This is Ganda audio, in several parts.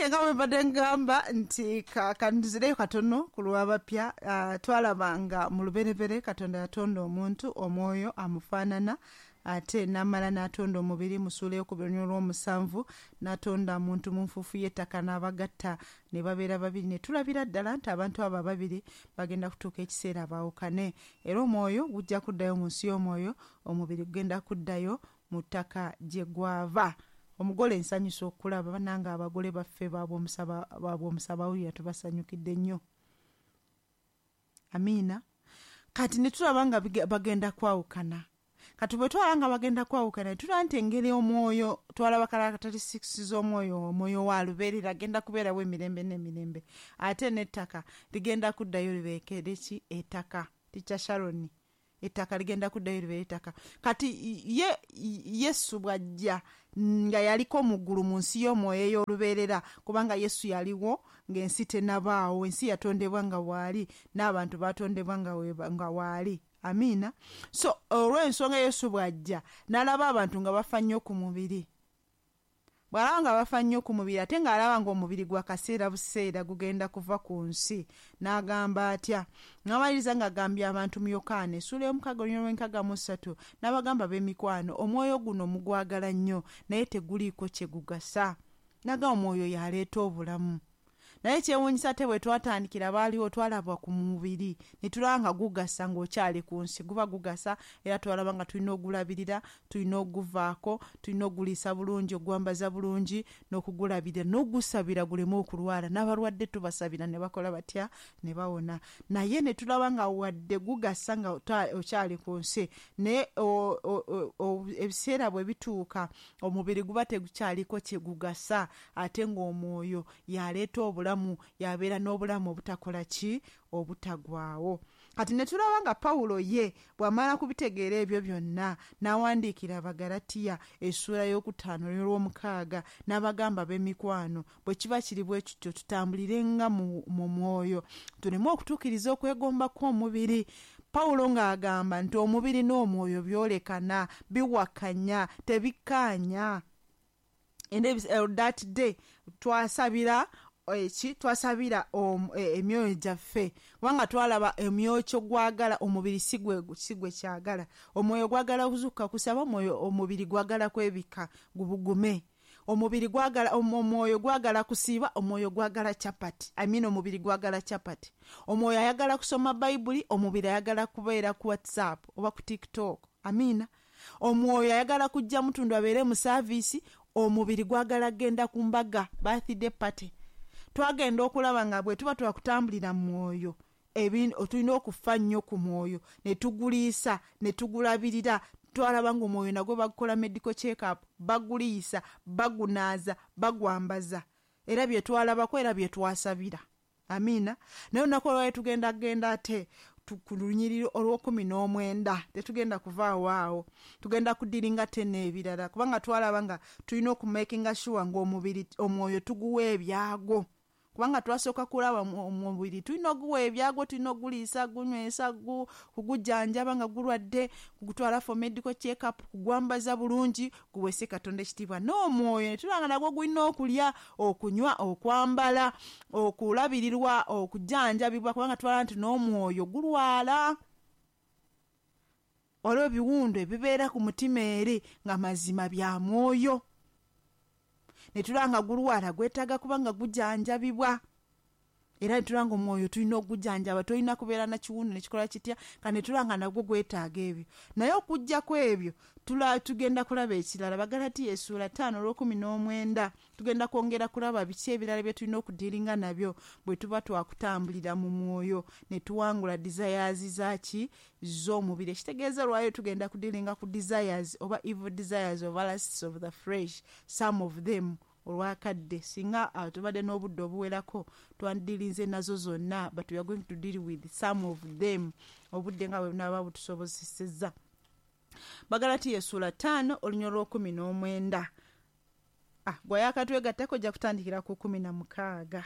Nga bwe mbadde ngamba nti kanzireyo katono ku lw'abapya. Twalaba nga mu lubereberye Katonda yatonda omuntu, omwoyo amufaanana, ate n'amala n'atonda omubiri. Mu ssuula ey'okubiri olw'omusanvu n'atonda muntu mu nfuufu y'ettaka n'abagatta ne babeera babiri, ne tulabira ddala nti abantu abo ababiri bagenda kutuuka ekiseera baawukane, era omwoyo gujja kuddayo mu nsi y'omwoyo, omubiri gugenda kuddayo mu ttaka gye gwava. Omugole nsanyusa okulaba bannange abagole baffe babwomusabawulira, tubasanyukidde nnyo, amiina. Kati ne tulaba nga bagenda kwawukana. Kati bwe twalaba nga bagenda kwawukana, tulaba nti engeri omwoyo, twalaba characteristics z'omwoyo, omwoyo wa lubeerera, agenda kubeerawo emirembe n'emirembe, ate n'ettaka ligenda kuddayo libeekere ki? Ettaka. Teacher Sharon, ettaka ligenda kuddayo libeere ettaka. Kati ye Yesu bw'ajja nga yaliko mu ggulu mu nsi y'omwoyo ey'olubeerera, kubanga Yesu yaliwo ng'ensi tennabaawo, ensi yatondebwa nga waali, n'abantu baatondebwa nga waali, amiina. So olw'ensonga Yesu bw'ajja n'alaba abantu nga bafa nnyo ku mubiri, bw'alaba nga bafa nnyo ku mubiri, ate ng'alaba ng'omubiri gwa kaseera buseera gugenda kuva ku nsi, n'agamba atya? N'amaliriza ng'agambye abantu mu Yokaana essuula y'omukaaga olunyiriri lw'enkaga mu 3, n'abagamba, "B'emikwano, omwoyo guno mugwagala nnyo, naye teguliiko kye gugasa." N'agamba omwoyo y'aleeta obulamu, naye kyewuunyisa ate bwe twatandikira baaliwo twalaba ku mubiri ne tulaba nga gugasa ng'okyali ku nsi, guba gugasa, era twalaba nga tulina ogulabirira, tulina oguvaako, tulina oguliisa bulungi, ogwambaza bulungi, n'okugulabirira n'ogusabira guleme okulwala, n'abalwadde tubasabira ne bakola batya? Ne bawona. Naye ne tulaba nga wadde gugasa nga okyali ku nsi, naye ebiseera bwe bituuka omubiri guba tegukyaliko kye gugasa, ate ng'omwoyo yaleeta obulamu, yabeera n'obulamu obutakola ki? Obutagwawo. Kati ne tulaba nga Pawulo ye bw'amala kubitegeera ebyo byonna, n'awandiikira Abagalatiya essuula y'okutaano olw'omukaaga, n'abagamba, "B'emikwano, bwe kiba kiri bwe kityo, tutambulirenga mu mwoyo, tuleme okutuukiriza okwegomba kw'omubiri." Pawulo ng'agamba nti omubiri n'omwoyo byolekana, biwakanya, tebikkaanya. And that day twasabira eki? Twasabira emyoyo gyaffe, kubanga twalaba emyoyo kyo gwagala, omubiri si gwe kyagala. Omwoyo gwagala kuzuukuka kusaba, omwoyo, omubiri gwagala kwebika gubugume. Omubiri gwagala, omwoyo gwagala kusiiba, omwoyo gwagala chapati, I mean, omubiri gwagala chapati. Omwoyo ayagala kusoma Bayibuli, omubiri ayagala kubeera ku WhatsApp oba ku TikTok, amiina. Omwoyo ayagala kujja mutundu abeere mu service, omubiri gwagala genda ku mbaga, birthday party. Twagenda okulaba nga bwe tuba twakutambulira mu mwoyo, tulina okufa nnyo ku mwoyo, ne tuguliisa ne tugulabirira. Twalaba ng'omwoyo nagwo bagukola medical check up, baguliisa, bagunaaza, bagwambaza, era bye twalabako era bye twasabira, amiina. Naye olunaku olwali tugenda genda ate ku lunyiriri olw'okkumi n'omwenda, tetugenda kuvaawo awo, tugenda kudealinga te n'ebirala, kubanga twalaba nga tulina okumakinga sure ng'omubiri, omwoyo tuguwa ebyago, kubanga twasooka kulaba omubiri tulina oguwa ebyago, tulina oguliisa, gunywesa, kugujjanjaba nga gulwadde, kugutwala for medical check up, kugwambaza bulungi, guweese Katonda ekitiibwa. N'omwoyo ne tulaba nga nagwo gulina okulya, okunywa, okwambala, okulabirirwa, okujjanjabibwa, kubanga twalaba nti n'omwoyo gulwala. Waliwo ebiwundu ebibeera ku mutima eri nga mazima bya mwoyo, ne tulaba nga gulwala, gwetaaga kuba nga gujanjabibwa, era ne tulaba nga omwoyo tulina okugujanjaba. Tolina kubeera na kiwundu nekikola kitya ka, ne tulaba nga nagwo gwetaaga ebyo. Naye okugjako ebyo, tugenda kulaba ekirala. Bagalatiya essuula 5 olw'okkumi n'omwenda, tugenda kwongera kulaba biki ebirala bye tulina okudealinga nabyo bwe tuba twakutambulira mu mwoyo ne tuwangula desires zaki? Z'omubiri. Ekitegeeza lwayo tugenda kudealinga ku desires oba evil desires oba lusts of the flesh, some of them, olwakadde. Singa tubadde n'obudde obuwerako, twandidealinze nazo zonna, but we are going to deal with some of them obudde nga bwe bunaaba butusobozesezza. Bagalatiya essuula 5 olunyiriri olw'okkumi n'omwenda. Gwe yakatwegattako, ojja kutandikira ku 16.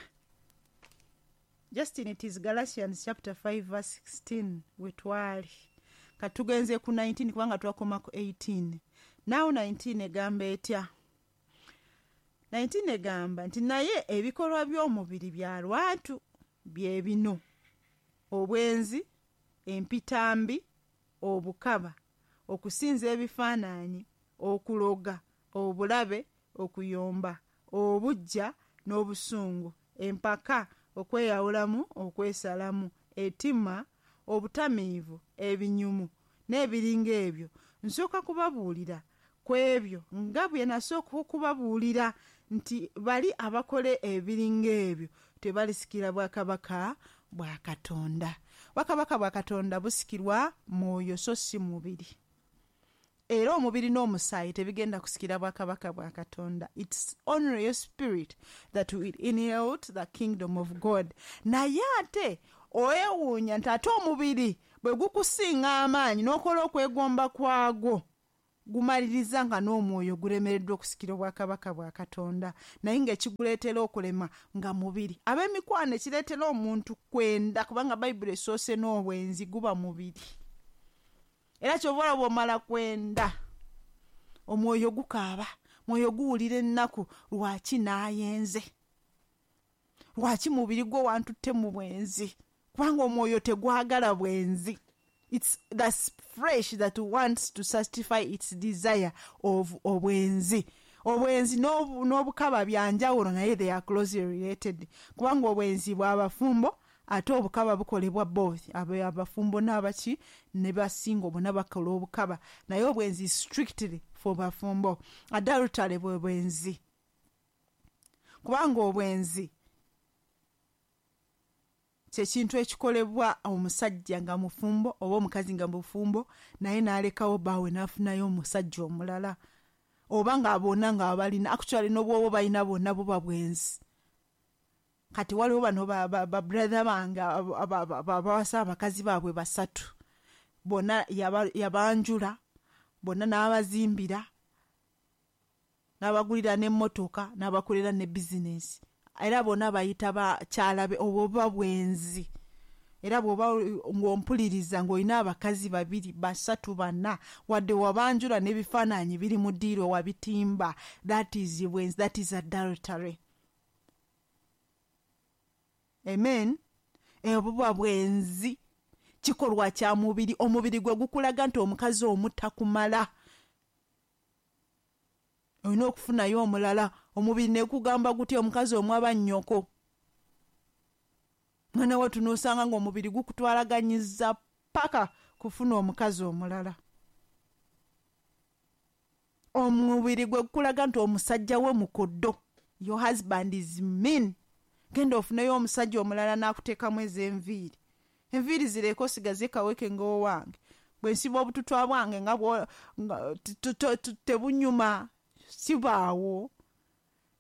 Justin, it is Galatians chapter 5 verse 16 wetwali. Kati tugenze ku 19 kubanga twakoma ku 18. Now 19 egamba etya? 19 egamba nti naye ebikolwa by'omubiri bya lwatu bye bino: obwenzi, empitambi, obukaba, okusinza ebifaananyi, okuloga, obulabe, okuyomba, obuggya n'obusungu, empaka, okweyawulamu, okwesalamu, ettima, obutamiivu, ebinyumu n'ebiringa ebyo. Nsooka kubabuulira ku ebyo nga bwe nasooka okubabuulira nti bali abakola ebiringa ebyo tebalisikira bwakabaka bwa Katonda. Bwakabaka bwa Katonda busikirwa mwoyo so si mubiri. Era omubiri n'omusaayi tebigenda kusikira bwakabaka bwa Katonda. It's only your spirit that will inherit the kingdom of God. Naye ate owewuunya nti ate omubiri bwe gukusinga amaanyi n'okola okwegomba kwagwo, gumaliriza nga n'omwoyo gulemereddwa okusikira obwakabaka bwa Katonda, naye ng'ekiguleetera okulema nga mubiri. Ab'emikwano, ekireetera omuntu kwenda, kubanga Bayibuli esoose n'obwenzi, guba mubiri. Era kyova olaba omala kwenda, omwoyo gukaaba, mwoyo guwulira ennaku, lwaki naayenze, lwaki mubiri gwo wantutte mu bwenzi? Kubanga omwoyo tegwagala bwenzi. It's the flesh that wants to satisfy its desire of obwenzi. Obwenzi n'obukaba byanjawulo, naye they are closely related, kubanga obwenzi bw'abafumbo, ate obukaba bukolebwa both abafumbo n'abaki ne basinga bonna bakola obukaba, naye obwenzi strictly for bafumbo. Adultery bwe bwenzi, kubanga obwenzi kyekintu ekikolebwa omusajja nga mufumbo oba omukazi nga mufumbo, naye n'alekawo bbaawe n'afunayo omusajja omulala, oba nga bonna nga balina, actually n'obwoba balina bonna, buba bwenzi. Kati waliwo bano babrother bange abawasa abakazi baabwe basatu, bonna yabanjula, bonna n'abazimbira, n'abagulira n'emmotoka, n'abakolera ne bizinesi, era bonna bayita bakyala be. Obwo buba bwenzi. Era bw'oba ng'ompuliriza ng'olina abakazi babiri, basatu, bana, wadde wabanjula n'ebifaananyi biri mu ddiiro wabitimba, that is bwenzi, that is adultery. Amen. Obuba bwenzi, kikolwa kya mubiri. Omubiri gwe gukulaga nti omukazi omu takumala, olina okufunayo omulala. Omubiri nekugamba guti omukazi omu aba nnyoko. Mwana wattu, n'osanga ng'omubiri gukutwalaganyiza paka kufuna omukazi omulala. Omubiri gwe gukulaga nti omusajja we mukoddo, your husband is mean, genda ofuneyo omusajja omulala n'akuteekamu ez'enviiri. Enviiri zireke, osigaze kaweke ng'owange. Bwe nsiba obututwa bwange nga tebunyuma, sibaawo.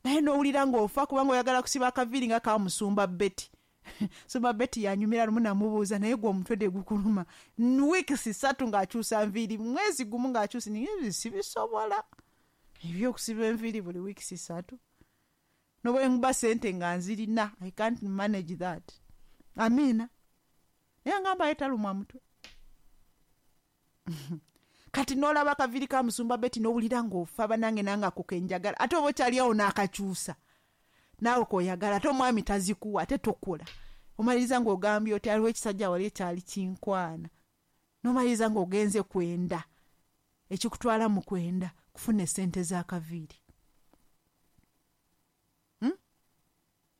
Naye n'owulira ng'ofa kubanga oyagala kusiba akaviiri nga kamusumba Betty. Sumba Betty yanyumira. Lumu namubuuza, "Naye gwe omutwe tegukuluma?" Weeks 3 ng'akyusa nviiri, mwezi gumu ng'akyusa. Naye sibisobola ebyokusiba enviiri buli weeks 3, nobwe nkuba sente nga nzirina. I can't manage that. Amiina. Naye ngamba ye talumwa mutwe. Kati n'olaba akaviiri ka musumba Betty n'owulira ng'ofa, banange, nange ako kenjagala. Ate oba okyali awo n'akakyusa naawe koyagala, ate omwami tazikuwa, ate tokola. Omaliriza ng'ogambye oti aliwo ekisajja wali ekyali kinkwana, n'omaliriza ng'ogenze kwenda. Ekikutwala mu kwenda kufuna esente z'akaviiri,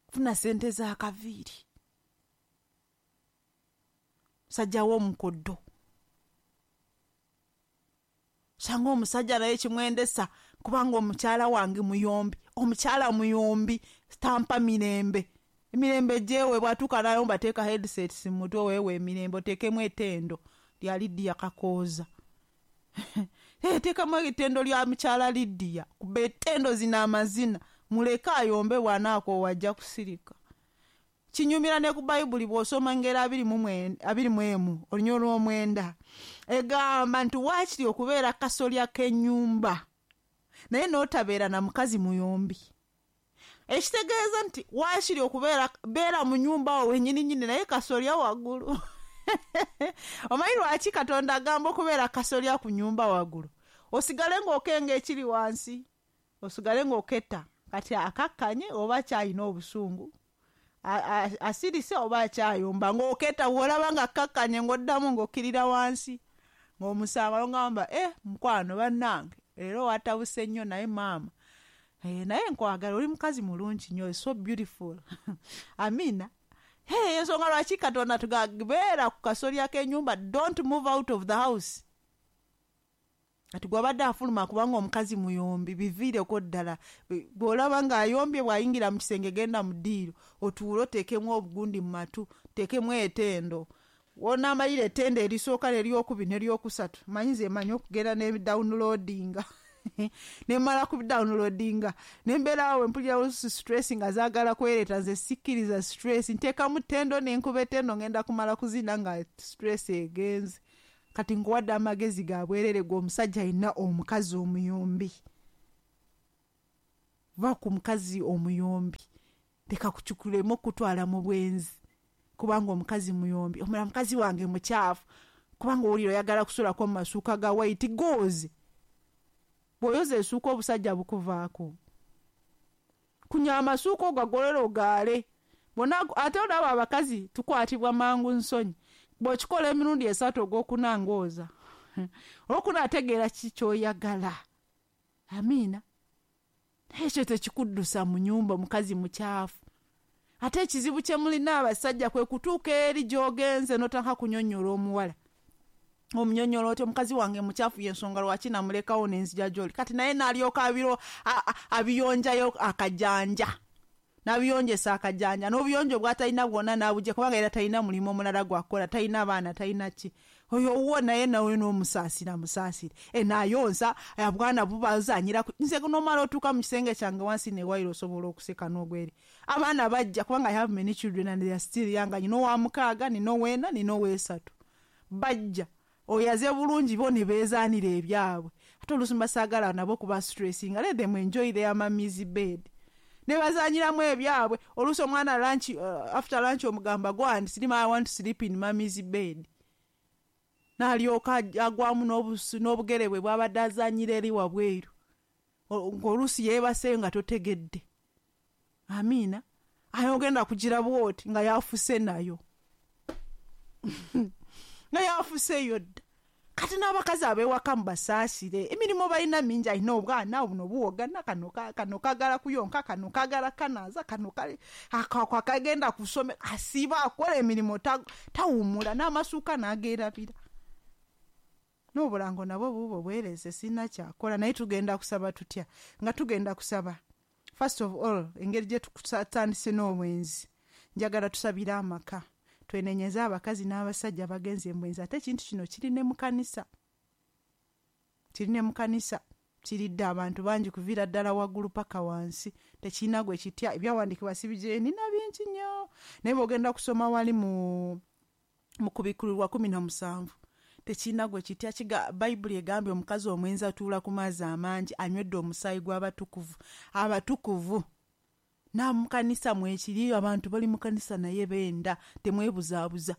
Kufuna sente z'akaviiri. Musajja w'omukoddo, sanga omusajja naye kimwendesa kubanga omukyala wange muyombi, omukyala muyombi, tampa mirembe. Emirembe gyewe bwatuuka nayo mbateeka headsets mu mutwe, weewe emirembe, oteekemu ettendo lya Lidiya Kakooza. Teekamu ettendo lya mukyala Lidiya, kuba ettendo zino amazina, muleke ayombe, bw'anaakoowa ajja kusirika. Kinyumira ne ku Bayibuli bw'osoma Engero 21 olunya olw'omwenda, egamba nti waakiri okubeera kasolya k'ennyumba naye n'otabeera na mukazi muyombi. Ekitegeeza nti waakiri okubeera beera mu nnyumba awo wennyininyini, naye kasolya waggulu. Omanyi lwaki Katonda agamba okubeera kasolya ku nnyumba waggulu? Osigale ng'okenga ekiri wansi, osigale ng'oketta. Kati akakkanye oba akyalina obusungu, asirise oba akyayomba, ng'oketa bw'olaba nga akkakkanye ng'oddamu ng'okkirira wansi ng'omusanga n'ogamba, mukwano bannange leero watabuse nnyo, naye maama, naye nkwagala, oli mukazi mulungi nnyo, so beautiful. Amina. Hey, ensonga lwaki Katonda tugabeera ku kasolya k'ennyumba, don't move out of the house. Kati gw'abadde afuluma kubanga omukazi muyombi, biviireko ddala. Bw'olaba ng'ayombye bw'ayingira mu kisenge, genda mu ddiiro otuule oteekemu obugundi mu matu, oteekemu etendo. W'onaamalira ettendo erisooka n'eryokubiri n'eryokusatu, manyi nze mmanyi okugenda ne downloadinga. Ne mmala ku downloadinga, ne mbeera awo mpulira stress nga zaagala kwereeta, nze sikkiriza stress, nteekamu ttendo ne nkuba ettendo, ngenda kumala kuzina nga stress egenze. Kati nkuwadde amagezi ga bwerere gwe omusajja alina omukazi omuyombi. Va ku mukazi omuyombi, leka kukikulemu okutwala mu bwenzi kubanga omukazi muyombi. Omulala mukazi wange mukyafu, kubanga owulira oyagala kusulako mu masuuka ga white goozi. Bw'oyoza essuuka obusajja bukuvaako. Kunya amasuuka ogagolole ogaale. Bonna ate olaba abakazi tukwatibwa mangu nsonyi. Bw'okikola emirundi 3 ogwokuna ng'oza. Olwokuna ategeera ki ky'oyagala. Amiina. Ekyo tekikuddusa mu nnyumba omukazi mukyafu. Ate ekizibu kye mulina abasajja kwe kutuuka eri gy'ogenze n'otandika kunyonnyola omuwala. Omunyonnyola oti omukazi wange mukyafu, y'ensonga lwaki namulekawo n'enzija gy'oli. Kati naye n'alyoka abiyonjayo akajanja. N'abiyonjesa akajanja, n'obuyonjo bw'atalina bwonna n'abujja kubanga era talina mulimu omulala gw'akola, talina baana, talina ki. Oyo owuwo naye nawe n'omusaasira musaasire. Naayonsa, obwana bubazaanyira. Nze n'omala otuuka mu kisenge kyange wansi ne wayiro osobola okuseka n'ogweri. Abaana bajja kubanga I have many children and they are still young. Nina owa 6, nina ow'ena, nina ow'esatu. Bajja. Oyaze bulungi bo ne beezaanira ebyabwe. Ate oluusi mbasaagala nabo kuba stressinga. Let them enjoy their mommy's bed. Ne bazaanyiramu ebyabwe. Oluusi omwana lunch, after lunch omugamba go and sleep, I want to sleep in mommy's bed. N'alyoka agwamu n'obugere bwe bw'abadde azaanyira eri wabweru. Ng'oluusi yeebaseeyo nga totegedde. Amiina. Aye ogenda kugira bw'oti nga yafuse nayo. Nga yafuseeyo dda. Kati n'abakazi ab'ewaka mubasaasire. Emirimu balina mingi, alina obwana buno buwogana, kano kagala kuyonka, kano kagala kanaaza, kano kagenda kusome, asiiba akola emirimu tawummula, n'amasuuka n'ageerabira. N'obulango nabwo buubwo bwereze, sirina kyakola, naye tugenda kusaba tutya? Nga tugenda kusaba. First of all, engeri gye tutandise n'obwenzi, njagala tusabire amaka. Twenenyeze abakazi n'abasajja abagenze mu bwenzi. Ate ekintu kino kiri ne mu kanisa. Kiri ne mu kanisa. Kiridde abantu bangi kuviira ddala waggulu paka wansi. Tekirina gwe kitya. Ebyawandiikibwa sibigye nina bingi nnyo. Naye bw'ogenda kusoma wali mu Kubikkulirwa 17. Tekirina gwe kitya. Bayibuli egambye omukazi omwenzi atuula ku mazzi amangi, anywedde omusaayi gw'abatukuvu. Abatukuvu. Na mu kanisa mwekiri, abantu bali mu kanisa naye benda, temwebuzaabuza.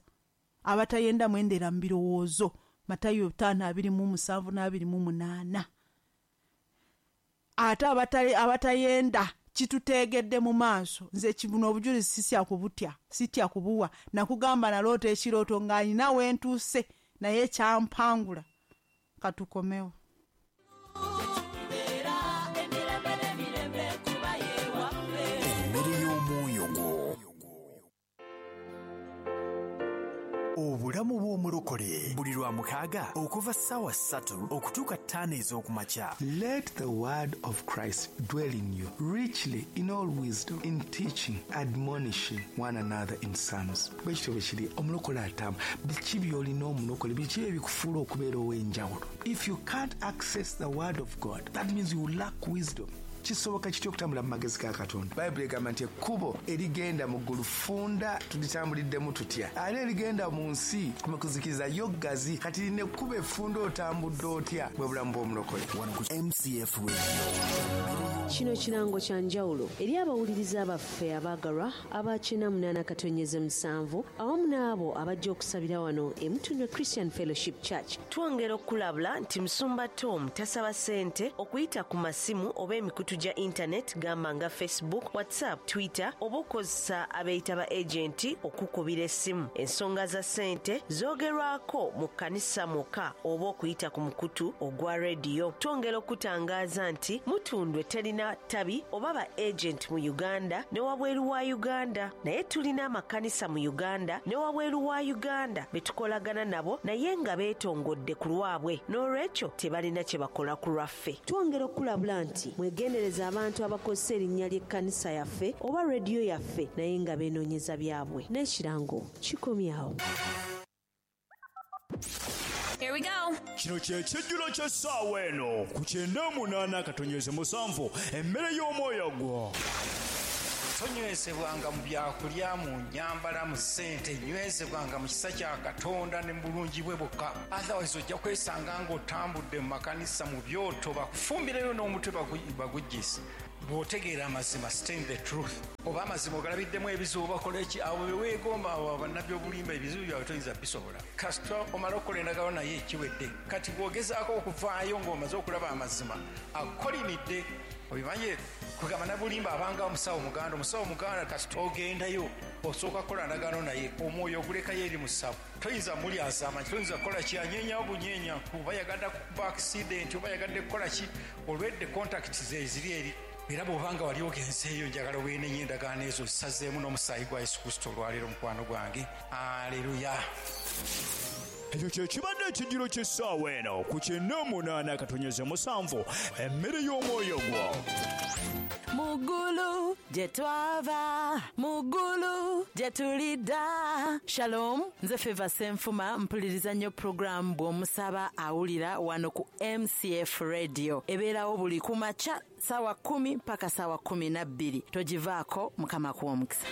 Abatayenda mwendera mu birowoozo. Matayo 5:27 na 28. Ate abatayenda kituteegedde mu maaso. Nze kibuno obujulizi sitya kubutya, sitya kubuwa. Nakugamba naloota ekirooto nga nina we ntuuse naye kyampangula. Katukomewo. Obulamu bw'omulokole buli lwa 6 okuva 3:00 okutuuka 5 ez'okumakya. Let the word of Christ dwell in you richly in all wisdom, in teaching, admonishing one another in psalms. Bwekityo bwe kiri, omulokole atamu biki by'olina omulokole, biki ebikufuula okubeera ow'enjawulo. If you can't access the word of God, that means you lack wisdom. Kisoboka kitya okutambula mu magezi ga Katonda? Bayibuli egamba nti ekkubo erigenda mu ggulu ffunda, tulitambuliddemu tutya? Ate erigenda mu nsi mu kuzikiriza yo ggazi. Kati lino ekkubo effunda otambudde otya? Bwe bulamu bw'omulokole. Wano ku MCF Radio. Kino kirango kya njawulo eri abawuliriza baffe abaagalwa aba 88.7 awamu n'abo abajja okusabira wano e Mutundwe Christian Fellowship Church. Twongera okulabula nti Musumba Tom tasaba ssente okuyita ku masimu oba emikutu gya internet gamba nga Facebook, WhatsApp, Twitter oba okukozesa abeeyita ba agenti okukubira essimu. Ensonga za ssente zoogerwako mu kkanisa mwokka oba okuyita ku mukutu ogwa rediyo. Twongera okutangaaza nti Mutundwe terina tabi oba ba agent mu Uganda ne wabweru wa Uganda, naye tulina amakanisa mu Uganda ne wabweru wa Uganda be tukolagana nabo naye nga beetongodde ku lwabwe, n'olwekyo tebalina kye bakola ku lwaffe. Twongera okulabula nti mwegendereza abantu abakozesa erinnya ly'ekkanisa yaffe oba rediyo yaffe naye nga beenoonyeza byabwe. N'ekirango kikomyawo. Here we go. Kino kye kijjulo ky'essaawa eno ku 98.7 emmere y'omwoyo gwo. Tonywezebwanga mu byakulya, mu nnyambala, mu ssente, nywezebwanga mu kisa kya Katonda ne mu bulungi bwe bwokka. Otherwise ojja kwesanga ng'otambudde mu makanisa mu byoto, bakufumbireyo n'omutwe baguggyise. Bw'otegeera amazima, stand the truth. Oba amazima ogalabiddemu ebizibu bakola ki, abo be weegomba, abo bannabbi obulimba, ebizibu byabwe toyinza bisobola. Kasita omala okukola endagaano naye ekiwedde. Kati bw'ogezaako okuvaayo ng'omaze okulaba amazima, akukolimidde. Obimanye kugamba nabulimba abanga omusawo muganda, omusawo muganda kasita ogendayo osooka kukola ndagaano naye, omwoyo ogulekayo eri musawo. Toyinza mulyazaama, toyinza kukola ki, anyeenya obunyeenya, oba yagadde kukuba accident, oba yagadde kukola ki, olwedde contact ze ziri eri. Era bw'obanga wali ogenzeeyo, njagala weenenye endagaano ezo zisazeemu n'omusaayi gwa Yesu Kristo olwaleero, mukwano gwange. Aleluya. Ekyo kye kibadde ekijjulo ky'essaawa eno ku 98.7 emmere y'omwoyo gwo. Mugulu gye twava, mugulu gye tulidda. Shalom, nze Feva Senfuma, mpuliriza nnyo program bw'omusaba awulira wano ku MCF Radio. Ebeerawo buli kumakya ssaawa 10 mpaka ssaawa 12. Togivaako, Mukama akuwe omukisa.